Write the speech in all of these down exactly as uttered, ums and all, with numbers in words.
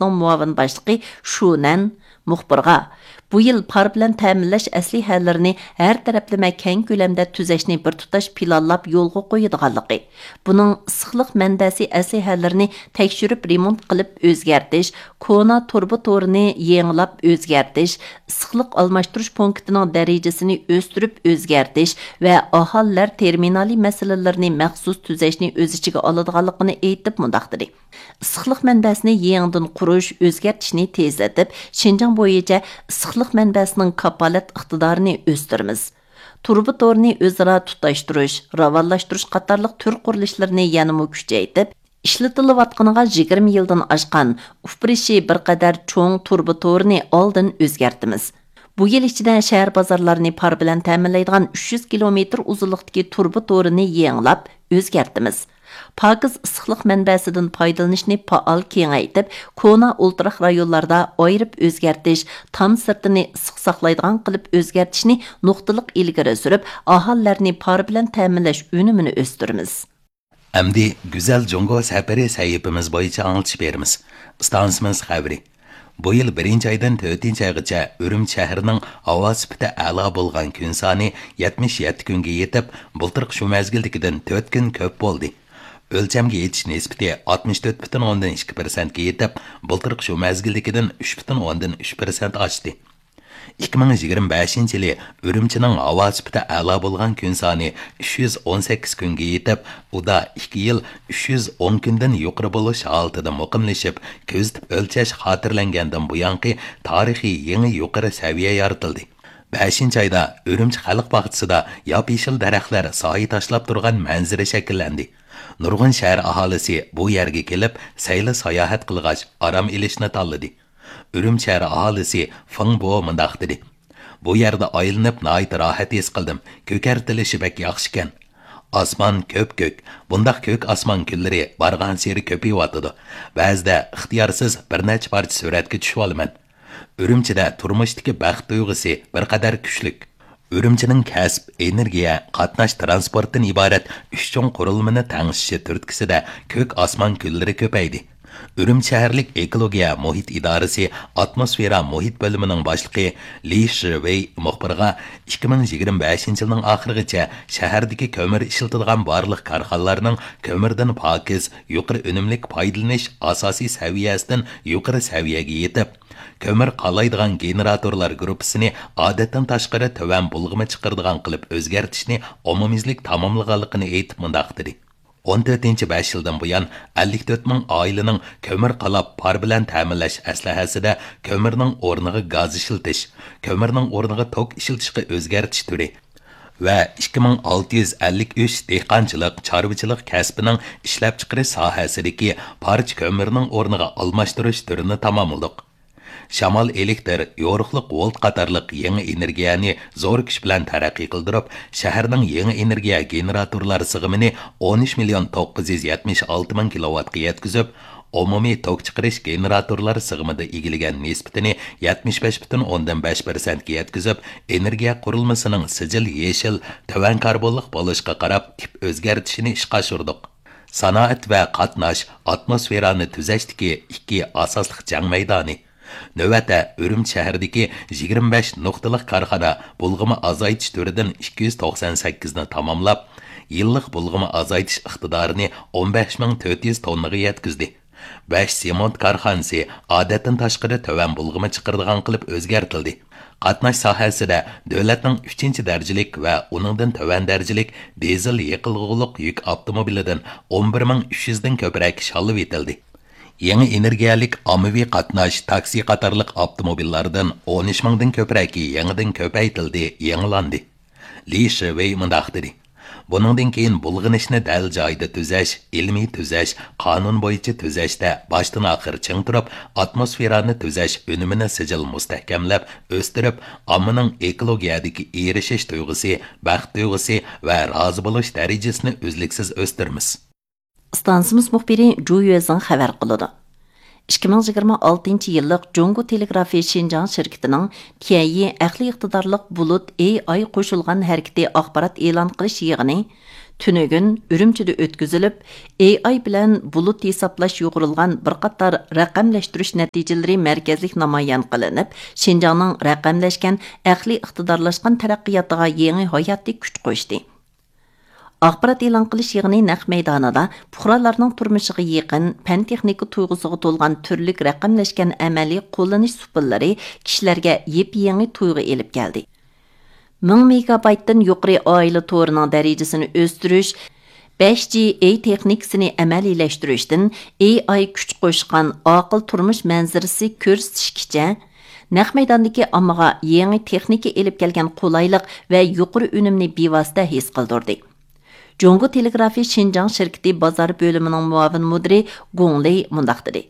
ئىنستىتۇتىنىڭ مۇئاۋىن باشلىقى شۇ نەن مۇخبىرغا، بۇ يىل پار بىلەن تەمىنلەش ئەسلىھەلىرىنى ھەر تەرەپلىمە كەڭ كۆلەمدە تۈزەشنى بىر تۇتاش پىلانلاپ يولغا قويىدىغانلىقى، بۇنىڭ ئىسسىقلىق مەنبەسى ئەسلىھەلىرىنى تەكشۈرۈپ رېمونت قىلىپ ئۆزگەرتىش، كونا تۇرۇبا تورىنى يېڭىلاپ ئۆزگەرتىش، ئىسسىقلىق ئالماشتۇرۇش پونكىتىنىڭ دەرىجىسىنى ئۆستۈرۈپ ئۆزگەرتىش ۋە ئاھالىلەر تېرمىنالى مەسىلىلىرىنى مەخسۇس تۈزەشنى ئۆز ئىچىگە ئالىدىغانلىقىنى ئېيتىپ مۇنداق دېدى: ئىسسىقلىق مەنبەسىنى يېڭىدىن قۇرۇش، ئۆزگەرتىشنى تېزلىتىپ، شىنجاڭ بويىچە ئىسسىقلىق مەنبەسىنىڭ كاپالەت ئىقتىدارىنى ئۆستۈرىمىز. تۇرۇبا تورىنى ئۆزئارا تۇتاشتۇرۇش، راۋانلاشتۇرۇش قاتارلىق تۈر قۇرۇلۇشلىرىنى يەنىمۇ كۈچەيتىپ، ئىشلىتىلىۋاتقىنىغا يىگىرمە يىلدىن ئاشقان، ئۇپرىشى بىر قەدەر چوڭ تۇرۇبا تورىنى ئالدىن ئۆزگەرتىمىز. بۇ يىل ئىچىدە شەھەر بازارلارنى پار بىلەن تەمىنلەيدىغان ئۈچ يۈز كىلومېتىر ئۇزۇنلۇقتىكى تۇرۇبا تورىنى يېڭىلاپ ئۆزگەرتىمىز. پاكىز ئىسسىقلىق مەنبەسىدىن پايدىلىنىشنى پائال كېڭەيتىپ، كونا ئولتۇراق رايونلاردا ئايرىپ ئۆزگەرتىش، تام سىرتىنى ئىسسىق ساقلايدىغان قىلىپ ئۆزگەرتىشنى نۇقتىلىق ئىلگىرى سۈرۈپ، ئاھالىلەرنى پار بىلەن تەمىنلەش ئۈنۈمىنى ئۆستۈرىمىز. ئەمدى گۈزەل جۇڭگو سەپىرى سەھىپىمىز بويىچە ئاڭلىتىش بېرىمىز. ئىستانسىمىز خەۋىرى. بۇ يىل بىرىنچى ئايدىن تۆتىنچى ئايغىچە ئۈرۈمچى شەھىرىنىڭ ھاۋا سۈپىتى ئەلا بولغان كۈن سانى يەتمىش يەتتە كۈنگە يېتىپ، بۇلتۇرقى شۇ مەزگىلدىكىدىن تۆت كۈن كۆپ بولدى. ئۆلچەمگە يېتىش نىسبىتى ئاتمىش تۆت پۈتۈن ئوندىن ئىككى پىرسەنتكە يېتىپ، بۇلتۇرقى شۇ مەزگىلدىكىدىن ئۈچ پۈتۈن ئوندىن ئۈچ پىرسەنت ئاشتى. ئىككى مىڭ يىگىرمە بەشىنچى يىلى ئۈرۈمچىنىڭ ھاۋا سۈپىتى ئەلا بولغان كۈن سانى ئۈچ يۈز ئون سەككىز كۈنگە يېتىپ، ئۇدا ئىككى يىل ئۈچ يۈز ئون كۈندىن يۇقىرى بولۇش ھالىتىدە مۇقىملىشىپ، كۆزىتىپ ئۆلچەش خاتىرىلەنگەندىن بۇيانقى تارىخىي يېڭى يۇقىرى سەۋىيە يارىتىلدى. بەشىنچى ئايدا ئۈرۈمچى خەلق باغچىسىدا ياپيېشىل دەرەخلەر سايە تاشلاپ تۇرغان مەنزىرە شەكىللەندى. نۇرغۇن شەھەر ئاھالىسى بۇ يەرگە كېلىپ، سەيلە ساياھەت قىلغاچ، ئارام ئېلىشنى تاللىدى. ئۈرۈمچى شەھەر ئاھالىسى فېڭ بو مۇنداق دېدى: بۇ يەردە ئايلىنىپ ناھايىتى راھەت ھېس قىلدىم. كۆكەرتىلىشى بەك ياخشىكەن. ئاسمان كۆپكۆك. بۇنداق كۆك ئاسمان كۈنلىرى بارغانسېرى كۆپىيىۋاتىدۇ. بەزىدە ئىختىيارسىز بىر نەچچە پارچە سۈرەتكە چۈشۈۋالىمەن. ئۈرۈمچىدە تۇرمۇشتىكى بەخت تۇيغۇسى بىر قەدەر كۈچلۈك. ئۈرۈمچىنىڭ كەسىپ، ئېنېرگىيە، قاتناش، تىرانسپورتتىن ئىبارەت ئۈچ چوڭ قۇرۇلمىنى تەڭشىشى تۈرتكىسىدە كۆك ئاسمان كۈنلىرى كۆپەيدى. ئۈرۈمچى شەھەرلىك ئېكولوگىيە مۇھىت ئىدارىسى ئاتموسفېرا مۇھىت بۆلۈمىنىڭ باشلىقى لى شىۋېي مۇخبىرغا، ئىككى مىڭ يىگىرمە بەشىنچى يىلنىڭ ئاخىرىغىچە شەھەردىكى كۆمۈر ئىشلىتىدىغان بارلىق كارخانىلارنىڭ كۆمۈردىن پاكىز، يۇقىرى ئۈنۈملۈك پايدىلىنىش ئاساسىي سەۋىيەسىدىن يۇقىرى سەۋىيەگە يېتىپ، كۆمۈر قالايدىغان گېنېراتورلار گۇرۇپپىسىنى ئادەتتىن تاشقىرى تۆۋەن بۇلغىما چىقىرىدىغان قىلىپ ئۆزگەرتىشنى ئومۇميۈزلۈك تاماملىغانلىقىنى ئېيتىپ مۇنداق دېدى: ئون تۆتىنچى بەش يىلدىن بۇيان ئەللىك تۆت مىڭ ئائىلىنىڭ كۆمۈر قالاپ پار بىلەن تەمىنلەش ئەسلىھەسىدە كۆمۈرنىڭ ئورنىغا گاز ئىشلىتىش، كۆمۈرنىڭ ئورنىغا توك ئىشلىتىشقا ئۆزگەرتىش تۈرى ۋە ئىككى مىڭ ئالتە يۈز ئەللىك ئۈچ دېھقانچىلىق، چارۋىچىلىق كەسپىنىڭ ئىشلەپچىقىرىش ساھەسىدىكى پارچە كۆمۈرنىڭ ئورنىغا ئالماشتۇرۇش تۈرىنى تاماملىدۇق. شامال ئېلېكتر، يورۇقلۇق ۋولت قاتارلىق يېڭى ئېنېرگىيەنى زور كۈچ بىلەن تەرەققىي قىلدۇرۇپ، شەھەرنىڭ يېڭى ئېنېرگىيە گېنېراتورلار سىغىمىنى ئون ئۈچ مىليون توققۇز يۈز يەتمىش ئالتە مىڭ كىلوۋاتقا يەتكۈزۈپ، ئومۇمىي توك چىقىرىش گېنېراتورلار سىغىمىدا ئىگىلىگەن نىسبىتىنى يەتمىش بەش پۈتۈن ئوندىن بەش پىرسەنتكە يەتكۈزۈپ، ئېنېرگىيە قۇرۇلمىسىنىڭ سىجىل يېشىل، تۆۋەن كاربونلۇق بولۇشقا قاراپ تىپ ئۆزگەرتىشىنى ئىشقا ئاشۇردۇق. سانائەت ۋە قاتناش، ئاتموسفېرانى تۈزەشتىكى ئىككى ئاساسلىق جەڭ مەيدانى. نۆۋەتتە ئۈرۈمچى شەھىرىدىكى يىگىرمە بەش نۇقتىلىق كارخانا بۇلغىما ئازايتىش تۈرىدىن ئىككى يۈز توقسان سەككىزنى تاماملاپ، يىللىق بۇلغىما ئازايتىش ئىقتىدارىنى ئون بەش مىڭ تۆت يۈز توننىغا يەتكۈزدى. بەش سېمونت كارخانىسى ئادەتتىن تاشقىرى تۆۋەن بۇلغىما چىقىرىدىغان قىلىپ ئۆزگەرتىلدى. قاتناش ساھەسىدە دۆلەتنىڭ ئۈچىنچى دەرىجىلىك ۋە ئۇنىڭدىن تۆۋەن دەرىجىلىك دىزېل يېقىلغۇلۇق يۈك ئاپتوموبىلىدىن ئون بىر مىڭ ئۈچ يۈزدىن كۆپرەك شاللىۋېتىلدى. يېڭى ئېنېرگىيەلىك ئاممىۋى قاتناش، تاكسى قاتارلىق ئاپتوموبىللاردىن ئون ئۈچ مىڭدىن كۆپرەكى يېڭىدىن كۆپەيتىلدى، يېڭىلاندى. لى شىۋېي مۇنداق دېدى: بۇنىڭدىن كېيىن بۇلغىنىشنى دەل جايىدا تۈزەش، ئىلمىي تۈزەش، قانۇن بويىچە تۈزەشتە باشتىن ئاخىر چىڭ تۇرۇپ، ئاتموسفېرانى تۈزەش ئۈنۈمىنى سىجىل مۇستەھكەملەپ ئۆستۈرۈپ، ئاممىنىڭ ئېكولوگىيەدىكى ئېرىشىش تۇيغۇسى، بەخت تۇيغۇسى ۋە رازى بولۇش دەرىجىسىنى ئۈزلۈكسىز ئۆستۈرىمىز. ئىستانسىمىز مۇخبىرى جۇ يۈەزىڭ خەۋەر قىلىدۇ. ئىككى مىڭ يىگىرمە ئالتىنچى يىللىق جۇڭگو تېلېگرافى شىنجاڭ شىركىتىنىڭ تيەنيى ئەقلىي ئىقتىدارلىق بۇلۇت ئېي ئاي قوشۇلغان ھەرىكىتى ئاخبارات ئېلان قىلىش يىغىنى تۈنۈگۈن ئۈرۈمچىدە ئۆتكۈزۈلۈپ، ئېي ئاي بىلەن بۇلۇت ھېسابلاش يۇغۇرۇلغان بىر قاتار رەقەملەشتۈرۈش نەتىجىلىرى مەركەزلىك نامايان قىلىنىپ، شىنجاڭنىڭ رەقەملەشكەن ئەقلىي ئىقتىدارلاشقان تەرەققىياتىغا يېڭى ھاياتىي كۈچ قوشتى. ئاخبارات ئېلان قىلىش يىغىنى نەق مەيدانىدا پۇقرالارنىڭ تۇرمۇشىغا يېقىن، پەن-تېخنىكا تۇيغۇسىغا تولغان تۈرلۈك رەقەملەشكەن ئەمەلىي قوللىنىش سۇپىلىرى كىشىلەرگە يېپيېڭى تۇيغۇ ئېلىپ كەلدى. مىڭ مېگابايتتىن يۇقىرى ئائىلە تورىنىڭ دەرىجىسىنى ئۆستۈرۈش، بەش جى ئېي تېخنىكىسىنى ئەمەلىيلەشتۈرۈشتىن ئېي ئاي كۈچ قوشقان ئاقىل تۇرمۇش مەنزىرىسى كۆرسىتىشكىچە، نەق مەيداندىكى ئاممىغا يېڭى تېخنىكا ئېلىپ كەلگەن قولايلىق ۋە يۇقىرى ئۈنۈمنى بىۋاسىتە ھېس قىلدۇردى. جۇڭگو تېلېگرافى شىنجاڭ شىركىتى بازار بۆلۈمىنىڭ مۇئاۋىن مۇدىرى گۇڭ لېي مۇنداق دېدى: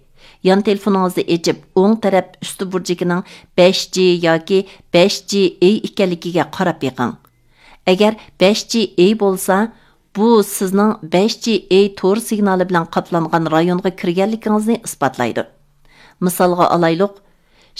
يان تېلېفونىڭىزنى ئېچىپ، ئوڭ تەرەپ ئۈستى بۇرجىكىنىڭ بەش جى ياكى بەش جى ئېي ئىكەنلىكىگە قاراپ بېقىڭ. ئەگەر بەش جى ئېي بولسا، بۇ سىزنىڭ بەش جى ئېي تور سىگنالى بىلەن قاپلانغان رايونغا كىرگەنلىكىڭىزنى ئىسپاتلايدۇ. مىسالغا ئالايلۇق،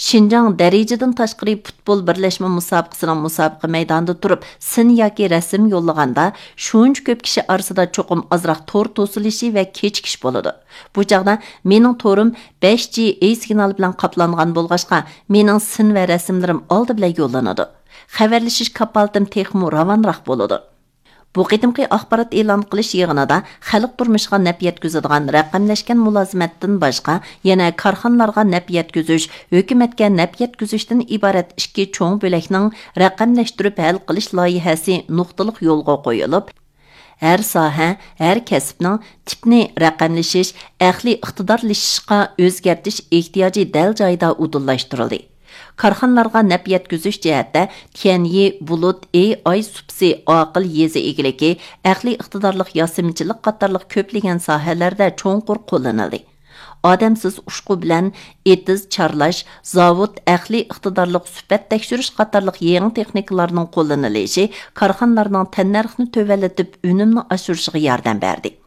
شىنجاڭ دەرىجىدىن تاشقىرى پۇتبول بىرلەشمە مۇسابىقىسىنىڭ مۇسابىقە مەيدانىدا تۇرۇپ سىن ياكى رەسىم يوللىغاندا، شۇنچە كۆپ كىشى ئارىسىدا چوقۇم ئازراق تور توسۇلۇشى ۋە كېچىكىش بولىدۇ. بۇ چاغدا مېنىڭ تورۇم بەش جى ئېي سىگنالى بىلەن قاپلانغان بولغاچقا، مېنىڭ سىن ۋە رەسىملىرىم ئالدى بىلەن يوللىنىدۇ. خەۋەرلىشىش كاپالىتىم تېخىمۇ راۋانراق بولىدۇ. بۇ قېتىمقى ئاخبارات ئېلان قىلىش يىغىنىدا خەلق تۇرمۇشىغا نەپ يەتكۈزىدىغان رەقەملەشكەن مۇلازىمەتتىن باشقا، يەنە كارخانىلارغا نەپ يەتكۈزۈش، ھۆكۈمەتكە نەپ يەتكۈزۈشتىن ئىبارەت ئىككى چوڭ بۆلەكنىڭ رەقەملەشتۈرۈپ ھەل قىلىش لايىھەسى نۇقتىلىق يولغا قويۇلۇپ، ھەر ساھە، ھەر كەسىپنىڭ تىپنى رەقەملىشىش، ئەقلىي ئىقتىدارلىشىشقا ئۆزگەرتىش ئېھتىياجى دەل جايىدا ئۇدۇللاشتۇرۇلدى. كارخانىلارغا نەپ يەتكۈزۈش جەھەتتە تيەنيى، بۇلۇت، ئېي ئاي سۇپىسى، ئاقىل يېزا ئىگىلىكى، ئەقلىي ئىقتىدارلىق ياسىمىچىلىق قاتارلىق كۆپلىگەن ساھەلەردە چوڭقۇر قوللىنىلدى. ئادەمسىز ئۇچقۇ بىلەن ئېتىز چارلاش، زاۋۇت، ئەقلىي ئىقتىدارلىق سۈپەت تەكشۈرۈش قاتارلىق يېڭى تېخنىكىلارنىڭ قوللىنىلىشى كارخانىلارنىڭ تەننەرخنى تۆۋەنلىتىپ، ئۈنۈمنى ئاشۇرۇشىغا ياردەم بەردى.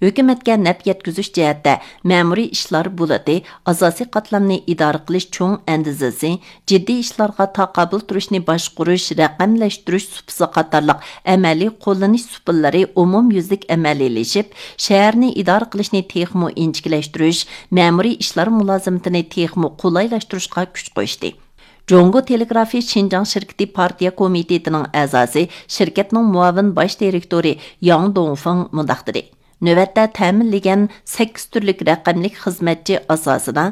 ھۆكۈمەتكە نەپ يەتكۈزۈش جەھەتتە مەمۇرىي ئىشلار بۇلىتى، ئاساسىي قاتلامنى ئىدارە قىلىش چوڭ ئەندىزىسى، جىددىي ئىشلارغا تاقابىل تۇرۇشنى باشقۇرۇش، رەقەملەشتۈرۈش سۇپىسى قاتارلىق ئەمەلىي قوللىنىش سۇپىلىرى ئومۇميۈزلۈك ئەمەلىيلىشىپ، شەھەرنى ئىدارە قىلىشنى تېخىمۇ ئىنچىكىلەشتۈرۈش، مەمۇرىي ئىشلار مۇلازىمىتىنى تېخىمۇ قولايلاشتۇرۇشقا كۈچ قوشتى. جۇڭگو تېلېگرافى شىنجاڭ شىركىتى پارتىيە كومىتېتىنىڭ ئەزاسى، شىركەتنىڭ مۇئاۋىن باش دىرېكتورى ياڭ دۇڭفېڭ مۇنداق دېدى: نۆۋەتتە تەمىنلىگەن سەككىز تۈرلۈك رەقەملىك خىزمەتچى ئاساسىدا،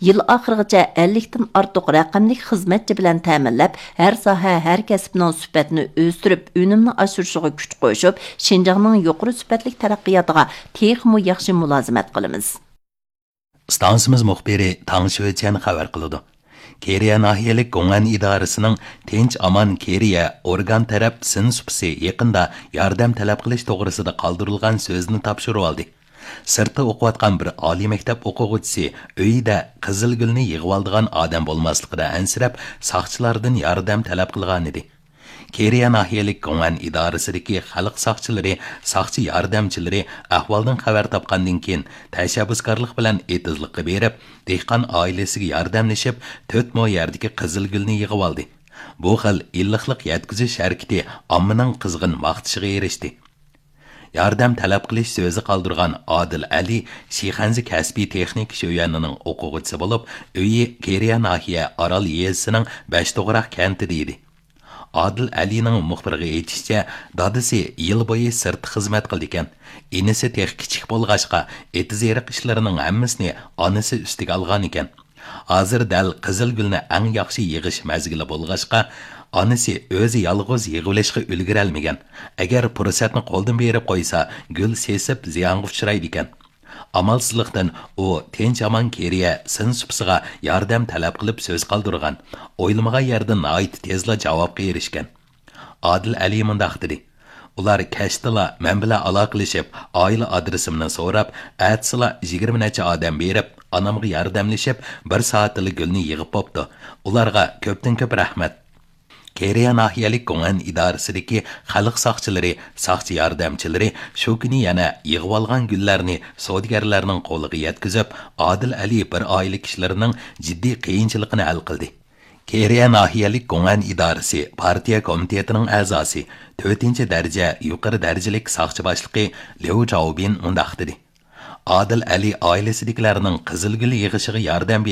يىل ئاخىرىغىچە ئەللىكتىن ئارتۇق رەقەملىك خىزمەتچى بىلەن تەمىنلەپ، ھەر ساھە، ھەر كەسىپنىڭ سۈپەتنى ئۆستۈرۈپ، ئۈنۈمنى ئاشۇرۇشىغا كۈچ قوشۇپ، شىنجاڭنىڭ يۇقىرى سۈپەتلىك تەرەققىياتىغا تېخىمۇ ياخشى مۇلازىمەت قىلىمىز. ئىستانسىمىز مۇخبىرى تاڭ شۆچيەن خەۋەر قىلىدۇ. كېرىيە ناھىيەلىك گوڭئەن ئىدارىسىنىڭ تىنچ ئامان كېرىيە ئورگان تەرەپ سىن سۇپىسى يېقىندا ياردەم تەلەپ قىلىش توغرىسىدا قالدۇرۇلغان سۆزنى تاپشۇرۇۋالدى. سىرتتا ئوقۇۋاتقان بىر ئالىي مەكتەپ ئوقۇغۇچىسى ئۆيىدە قىزىلگۈلنى يىغىۋالىدىغان ئادەم بولماسلىقىدا ئەنسىرەپ، ساقچىلاردىن ياردەم تەلەپ قىلغانىدى. كېرىيە ناھىيەلىك گوڭئەن ئىدارىسىدىكى خەلق ساقچىلىرى ساقچى ياردەمچىلىرى ئەھۋالدىن خەۋەر تاپقاندىن كېيىن، تەشەببۇسكارلىق بىلەن ئېتىزلىققا بېرىپ، دېھقان ئائىلىسىگە ياردەملىشىپ، تۆت مو يەردىكى قىزىلگۈلنى يىغىۋالدى. بۇ خىل ئىللىقلىق يەتكۈزۈش ھەرىكىتى ئاممىنىڭ قىزغىن ماختىشىغا ئېرىشتى. ياردەم تەلەپ قىلىش سۆزى قالدۇرغان ئادىل ئەلى شىخەنزە كەسپىي تېخنىكا شۆيۈەنىنىڭ ئوقۇغۇچىسى بولۇپ، ئۆيى كېرىيە ناھىيە ئارال يېزىسىنىڭ بەشتوغراق كەنتىدە ئىدى. ئادىل ئەلىنىڭ مۇخبىرغا ئېيتىشىچە، دادىسى يىل بويى سىرتتا خىزمەت قىلىدىكەن. ئىنىسى تېخى كىچىك بولغاچقا، ئېتىز-ئېرىق ئىشلىرىنىڭ ھەممىسىنى ئانىسى ئۈستىگە ئالغانىكەن. ھازىر دەل قىزىلگۈلنى ئەڭ ياخشى يىغىش مەزگىلى بولغاچقا، ئانىسى ئۆزى يالغۇز يىغىۋېلىشقا ئۈلگۈرەلمىگەن. ئەگەر پۇرسەتنى قولدىن بېرىپ قويسا، گۈل سېسىپ زىيانغا ئۇچرايدىكەن. ئامالسىزلىقتىن ئۇ تىنچ-ئامان كېرىيە سىن سۇپىسىغا ياردەم تەلەپ قىلىپ سۆز قالدۇرغان. ئويلىمىغان يەردىن ناھايىتى تېزلا جاۋابقا ئېرىشكەن. ئادىل ئەلى مۇنداق دېدى: ئۇلار كەچتىلا مەن بىلەن ئالاقىلىشىپ، ئائىلە ئادرېسىمنى سوراپ، ئەتىسىلا يىگىرمە نەچچە ئادەم بېرىپ، ئانامغا ياردەملىشىپ، بىر سائەتتىلا گۈلنى يىغىپ بوپتۇ. ئۇلارغا كۆپتىن كۆپ رەھمەت. كېرىيە ناھىيەلىك گوڭئەن ئىدارىسىدىكى خەلق ساقچىلىرى، ساقچى ياردەمچىلىرى شۇ كۈنى يەنە يىغىۋالغان گۈللەرنى سودىگەرلەرنىڭ قولىغا يەتكۈزۈپ، ئادىل ئەلى بىر ئائىلە كىشىلىرىنىڭ جىددىي قىيىنچىلىقىنى ھەل قىلدى. كېرىيە ناھىيەلىك گوڭئەن ئىدارىسى پارتىيە كومىتېتىنىڭ ئەزاسى، تۆتىنچى دەرىجە يۇقىرى دەرىجىلىك ساقچى باشلىقى ليۇ چاۋبىن مۇنداق دېدى: ئادىل ئەلى ئائىلىسىدىكىلەرنىڭ قىزىلگۈل يىغىشىغا ياردەم